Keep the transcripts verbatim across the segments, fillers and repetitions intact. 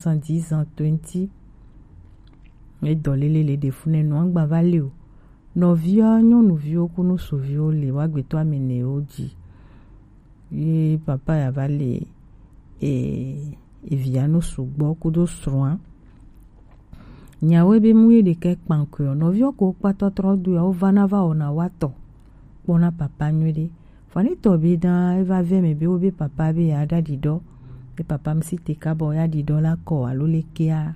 soixante-dix ans, twenty. Edɔ lele le ɖe fu nɛ nɔ agba va le o. Nɔviwo nyɔnuviwo kunu suviwo le wa gbetɔ ame nɛ wo dzi. Ye papa ya va le e evia nu sugbɔ kudo srɔ̃a. Nyawo be mu ye ɖekɛ kpankɔe o. Nɔviwo ko kpatɔ trɔ do ya wo va na va wɔna wa tɔ kpɔna papa nyuie ɖe. Fani tɔ be dã eva vɛ mɛ be wo be papa be ya ɖa ɖiɖɔ. Be papa mi si te kabɔ ya ɖiɖɔ la kɔ alo le kea.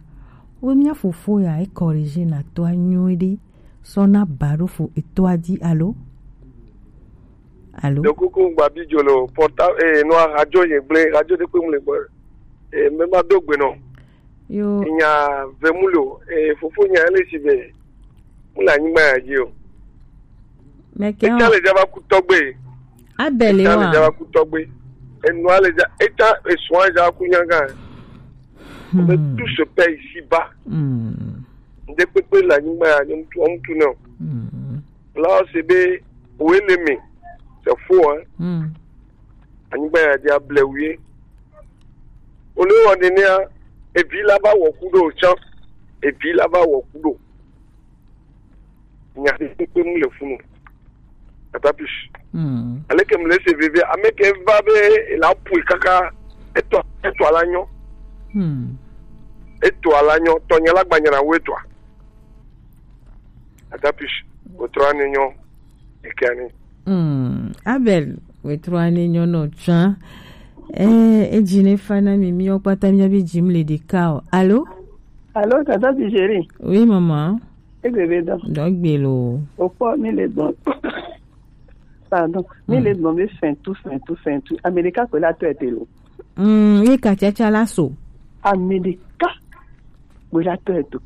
Wo mia fofo ya e corriger na tɔ anyuie ɖe. Sɔ na ba ɖo fo etɔ a dzi alo. Alo. Ɖe kuku gba bi dzo lo porta e no radio ye gble radio de kpe mu le gbe. E me ma do gbe no. Yo. Nya ve mu lo e fofo nya ele si be. Mu la nyigba ya dzi o. Mɛ kɛ Eta le java ku tɔgbe. Abɛli Eta le wa. Java ku tɔgbe. Enua le ja eta esua java ku nyaga. Be Hmm. Tout se paie ici-bas. Hmm. Ŋde kpekpe le anyigba ya nyɔnu tu ɔmu tu nɛ o. Hmm. La se be wo ele me se fo hein. Hmm. Anyigba ya di able wie. Ole wɔ nenea evi la va wɔ ku ɖo tsã. Evi la va wɔ ku ɖo. Nya ɖe kpekpe mu le funu. Atapis. Hmm. Aleke mu le se veve ame ke va be la pui kaka etɔ etɔ la nyɔ. Hmm. Etɔ la nyɔ tɔ nya la gbanya na wo etɔa. Atapis. Otrɔ ani nyɔ. Ekani. Hmm. Abel, wetrɔ ani nyɔ no tsã. Eh, edzi ne fa na mi mi okpata mi abi dzim le ɖeka o. Alo? Alo, tata ti chéri. Oui, maman. Egbe be dɔ. Dɔ gbe lo. Okpɔ mi le dɔn. Pardon. Mi le dɔn be fɛn tu fɛn tu fɛn tu. Amerika ko la to ete lo. Mm, ye ka chacha la so. Amerika ko la to eto.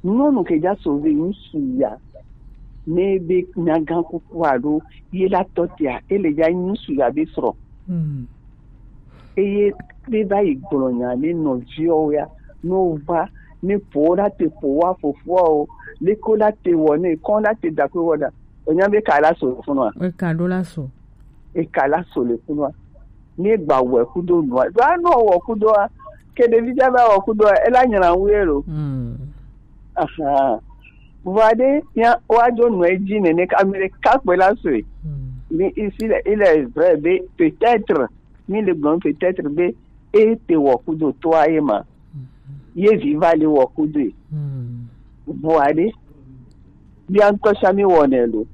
Nyɔnu ke ja so ve ŋsu ya. Ne be nyagan kuku alo ye la tɔ tia, ele ja ŋsu ya be srɔ̃. Mm. Eye be va yi gblɔ nya ne nɔviwo ya, no va ne po la te po wa fofoa o, le ko la te wɔ ne kɔn la te da ko wɔ da. Onya be ka la so funua. E ka do la so. E ka la so le funua. Ne gba wɔ kudo nua. Do anɔ wɔ kudo a. Ke ɖevi ja va wɔ kudo a, ela nyina wu ye lo. Mm. Aha. Vɔ ɖe ya wa jo nɔ edzi nene ka mi ɖe ka kpe la so. Mm. Ni isi le, il est vrai be peut-être mi le gblɔm peut-être be e te wɔ kudo toa ye ma. Ye vi va le wɔ kudo ye. Mm. Vɔa ɖe bia ŋutɔ sia mi wɔnɛ lo.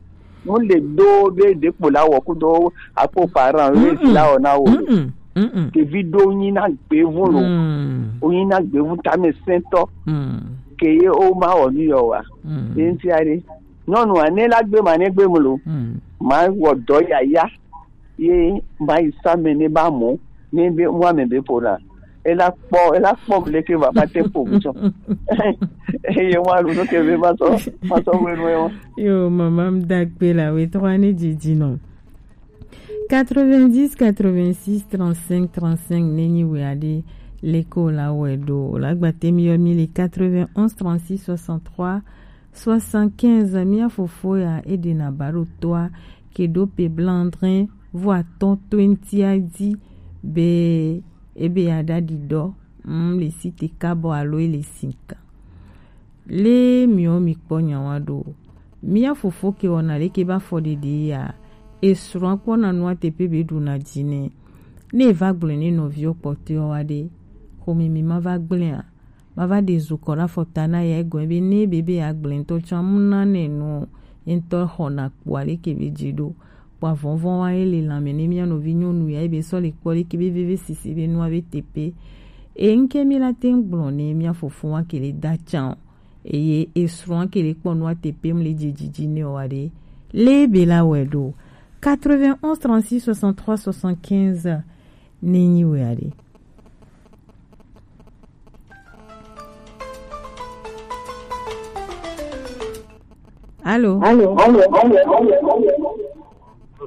Mu le do be ɖekpo la wɔ kudo akpo parent ye vi la wɔ na wo. Mm-mm. Mm-mm. Ke vi do nyi na gbevu lo. Mm. O nyi na gbevu tame sɛntɔ. Mm. Ke ye o ma wɔ nu yɔ wa. Mm. Ye ŋutia ɖe. Nyɔnua ne la gbe ma ne gbe mu lo. Mm. Ma wɔ dɔ yaya. Ye ma yi sa me ne ba mo ne be wa me be po la. Ela kpɔ ela kpɔ le ke va ma te po mu tsɔ. Eye wa lu no ke be ma sɔ ma sɔ we no yo. Yo, maman, m da gbe la we tɔ ne didi no. Quatre-vingt-dix, quatre-vingt-six, trente-cinq, trente-cinq, nenyi we ade le ko la we do la gba te mi yo mi le quatre-vingt-onze, trente-six, soixante-trois, soixante-quinze, mia fofo ya e ɖe na ba ɖo toa ke ɖo pe blandrin vo atɔ̃ twenty a dzi be ebe ya ɖa ɖiɖɔ, mm, le si te kabɔ alo e le sinka. Le miwo mi kpɔ nyawa ɖo. Mia fofo ke wɔna le ke ba fɔ ɖeɖe ya, e srɔ̃ kpɔ na nua te pe be ɖu na dzi ne. Ne e va gblɔ ne nɔviwo kpɔtɔewo wa ɖe, xome mi ma va gblẽa. Ma va ɖe zu kɔ ɖe afɔta na ya egɔme be ne be be ya gblẽ ŋutɔ tsã mu na nɛ nu ye ŋutɔ xɔna kpo aleke be dzi ɖo. Kpɔ avɔvɔ wa ye le lãme ne mia nɔvi nyɔnu ya ebe sɔ le kpɔ leke be veve sisi be nua be tepe. E ŋke mi la te ŋu gblɔ ne mia fofo wa ke le da tsã o. Eye esrɔ̃ ke le kpɔ nua tepe mu le dzi dzidzi ne o wa ɖe. Le be la wɛ ɖo. Quatre-vingt-onze, trente-six, soixante-trois, soixante-quinze. Ne nyi wɛ aɖe. Allô? Allô? Allô? Allô? Allô?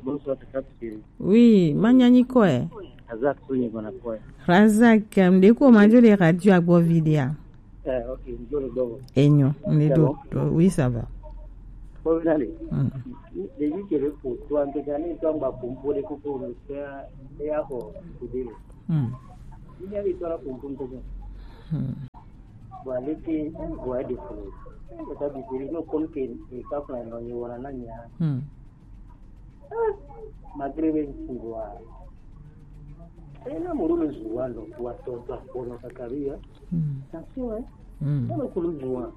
Bonsoir, c'est Capitaine. Oui, manyanyi kɔɛ. Razak Sonyi Bonakɔɛ. Razak, um, de ko majo de radio agbo vidéo. Eh, ok, njo le dogo. Enyo, nde do. Oui, ça va. Ko na le. Mm. De yi kere ko to an te ka ni to an ba ko mpo de ko ko no se ya ko ko de. Mm. Ni ya to la ko ko ko. Hmm. Bon, aleke, eh, bon, elle est folle. Eh, mais ça, bizarre, non, comme que, eh, quand on a, on a, on a, on a, Hmm. Malgré que tu vois, eh, na moro le zuwa no, wa to to kono kakaria. Hmm. Attention, hein. Hmm. Na ko le zuwa.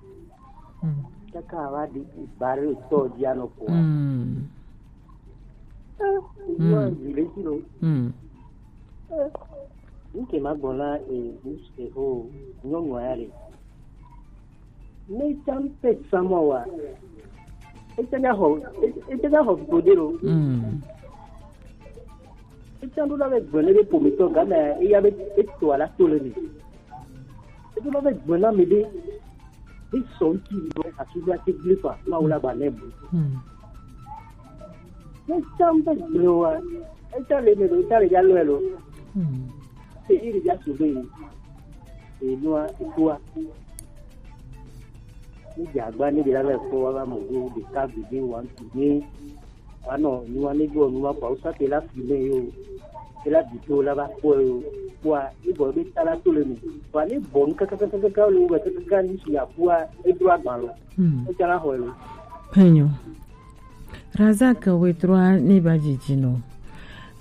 Hmm. Kaka wa di bare to dia no ko. Hmm. Eh, zuwa, Hmm. Di le kilo. Hmm. Eh, nke ma gbɔna, eh, ho, nyɔnu ya le. Ne tsan pe tsan mɔ wa. Ete ga xɔ, ete ga xɔ gbode lo. Mm. Ete ɖo la be gbɔn ne be pomitɔ ga me, eya be eto ala to le mi. Ete la be gbɔn na mi be, be sɔn ti lo, asi be ate gbe fa, ma wula ba ne bu. Mm. Ne tsan pe gbɔn wa, ete le mi lo, ete le ya lo lo. Mm. Te iri ja su be. Enua, etua. Ni dze agba ni ɖe la va kpɔ wa va mɔ ɖo ɖeka gbeɖe wa ŋutu ni wa nɔ nua ne ɖo nua kɔ awusa te la fi me yo. Te la bi to la va kpɔ yo. Kpɔa, ni bɔ be ta la to le me. Wa ne bɔ nu kakakakaka le wo kakaka ni si akua, e ɖo agba lo. Hmm. E ta la xɔ lo. Penyo. Razak wetrua ne ba jiji no.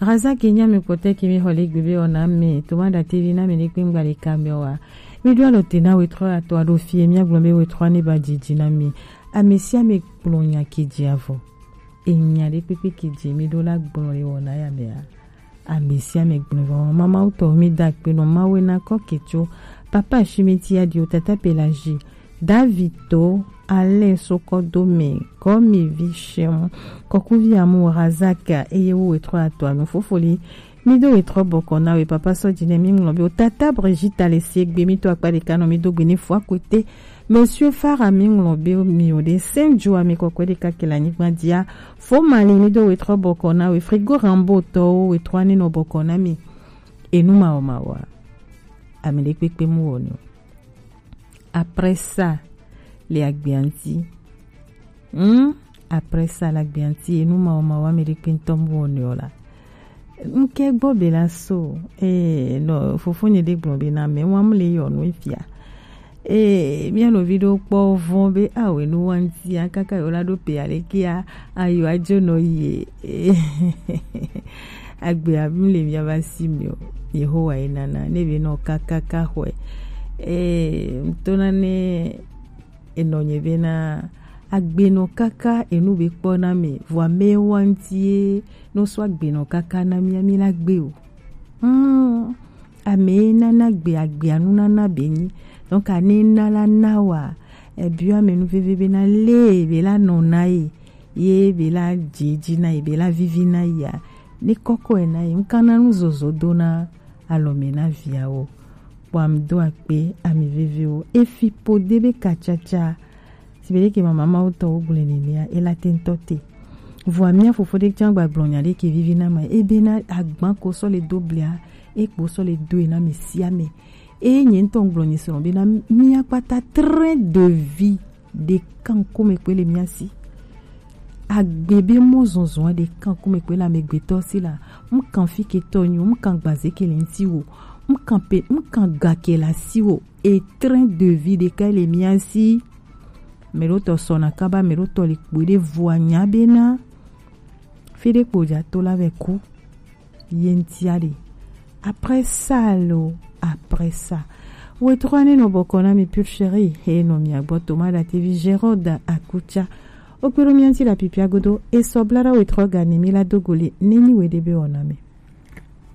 Razak nya mi kote ki mi holi gbibi ona mi. Tuma da T V na mi ni kpingba li kamio wa. Mi dua lo tena wetrua ato ado fie mi agblɔ be wetrua ne ba jiji na mi. Amesi ame kplɔ nya kidzi avɔ. Enya ɖe kpekpe kidzi mi ɖo la gblɔ le wɔna ya mea. Ame sia ame gblɔ vɔ. Mama wutɔ mi da akpe nɔ Mawu na kɔ ketso. Papa Shimiti Adio, Tata Pelagie, Davito, Alain Sokodome, Kɔmi Vishem, Kɔkuvi Amu Razak, eye wo wetrɔ atɔ anu fofoli. Mi do wetrɔ bɔkɔ na we papa sɔ dzi ne mi ŋlɔ be o tata Brigitte le sie gbe mi to akpa ɖeka nɔ mi do gbe ne fua kote. Monsieur Farah mi ŋlɔ be mi o de Saint Joa mi kɔkɔe ɖeka ke le anyigba dzia. Fo Mali mi do wetrɔ bɔkɔ na we Frigo Rambo tɔwo wetrɔ ani nɔ bɔkɔ na mi. Enu mawo mawoa. Ame ɖe kpekpe mu wɔ no. Après ça, le agbea ŋuti. Hmm? Après ça, le agbea ŋuti, enu mawo mawo ame ɖe kpe ŋutɔ mu wɔ no la. Nke gbɔ be la so, eh, no, fofonye ɖe gblɔ be na me wa mu le yɔ nu efia. Eh, mia nɔvi ɖewo kpɔ vɔn be awo enu wa ŋuti, a kaka yo la ɖo pe alekea, ayo adzo nɔ yi. Eh, agbea mu le mia va si mi o. Yehowa ye nana, ne be nɔ kakaka xɔe. Eh, ŋutɔ na ne enɔ nye be na agbenɔ kaka enu be kpɔ na me, vɔ ame wa ŋuti ye no so agbenɔ kaka na mia, mi la gbe o. Hmm, ame ye nana gbe agbea nu nana be nyi. Donc, ane na la na wa, ebiɔ ame nu veve be na le be la nɔ na ye, ye be la dze dzi na ye, be la vivi na ye a, ne kɔkɔ ye na ye, ŋkana nu zozo do na alɔ me na viawo. Kpɔ ame do akpe, ame vevewo. Efi po de be katsatsa. Si be ɖeke mama mawo tɔ wo gblɔe nenea, ela te ŋutɔ te. Vɔa mia fofo ɖe tsã gba gblɔ nya ɖe ke vivi na ma. Ebe na agba ko sɔ le do blia, e kpo sɔ le do e na me sia me. Eye nye ŋutɔ ŋgblɔ nye srɔ̃ be na mia kpata train de vie ɖeka ŋkume kpe le mia si. Agbe be mɔzɔzɔa ɖeka ŋkume kpe le amegbetɔ si la. Ŋkan fi ke tɔ nyo, ŋkan gbaze ke le ŋti wo, ŋkan pe, ŋkan ga ke le asi wo. E train de vie ɖeka le mia si. Mɛ ɖo tɔ sɔna kaba, mɛ ɖo tɔ le kpo ɖe vua nya be na fi ɖe kpo dza to la vɛ ku. Ye ŋtia ɖe. Après ça lo, après ça. Wetrɔ ne nɔ bɔkɔ na mi pure chérie, he nɔ mia gbɔ Toma da T V Gérard Akutsa. Okpero mia ŋti la pipia godo, e sɔ bla ɖa wetrɔ ga ni mi la dogoli, ne nyi we ɖe be wɔna mi.